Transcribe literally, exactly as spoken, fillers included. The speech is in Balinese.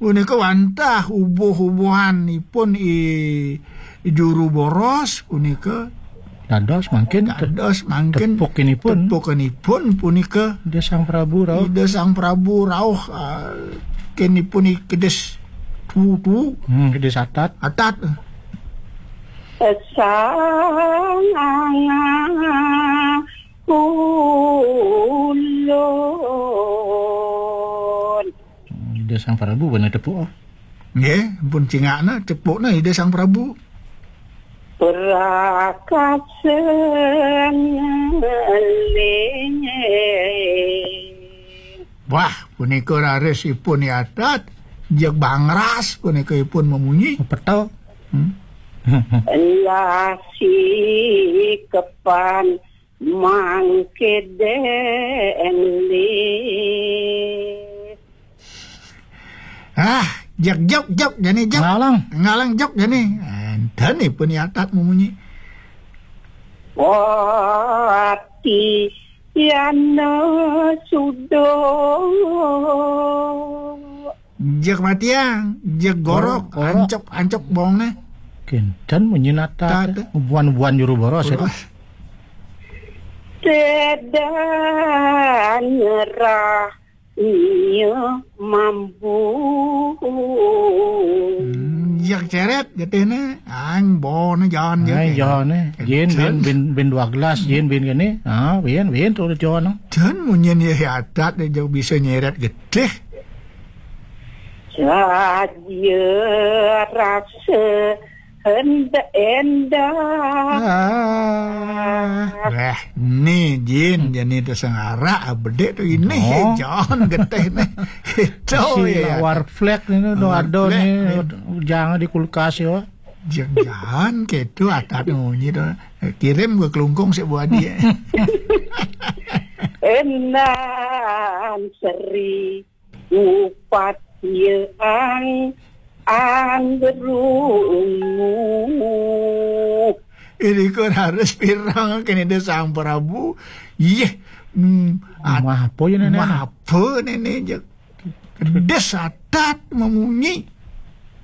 Punika wantah ubuh-ubuhanipun i juru boros punika dados mangkin te-, dados mangkin tepukinipun. Tepukinipun punika Ida Sang Prabu rauh. Ida Sang Prabu rauh, ah, kenipun i kedis tutu. Hmm, kedis atat. Atat. Sang Ulun. Ida Sang Prabu bana tepuk, oh. Nggih, ampun cingakna, tepukna Ida Sang Prabu. Prakasa ngeling. Wah, punika raris ipun yatat, jeg bangras punika ipun memunyi. Petel. Hmm. Lah sikepan mangke dengli. Ah, jek, jek, jek, jani jek. Ngalang. Ngalang jek, jani. Enten ipun yatat memunyi. Wati yana sudo. Jek matiang, jek gorok, gorok, gorok. Ancep, ancep bongne. Kinten munyi natat. Tat. Buan-buan juru boros, ya. Boros. Tedan nyerah iya mampu. Hmm, jek ceret, getihne. Ang bone jan jek. Ang jane. Jen bin, bin, bin dua gelas, jen bin kene. Ah, bin, bin terus jan. Jan munyin ya atat, dia jauh bisa nyeret getih. Saja rasa hendak endah. Ah. Wah, ni jin, jani tu sengara, bedek tu ini, oh. Jan getih ni. Itu si ya. Lawar flek ni, tu ada ni, jangan di kulkas ya. Jangan gitu, atat munyi tu. Kirim ke kelungkung si buat dia. Enan seri. Upat ye ang anggeru. Ini kok harus pirang kene de Sang Prabu. Yeh. Hmm, at-, mah apa ya, Nenek? Mah apa, Nenek? Je. Kedes atat memunyi.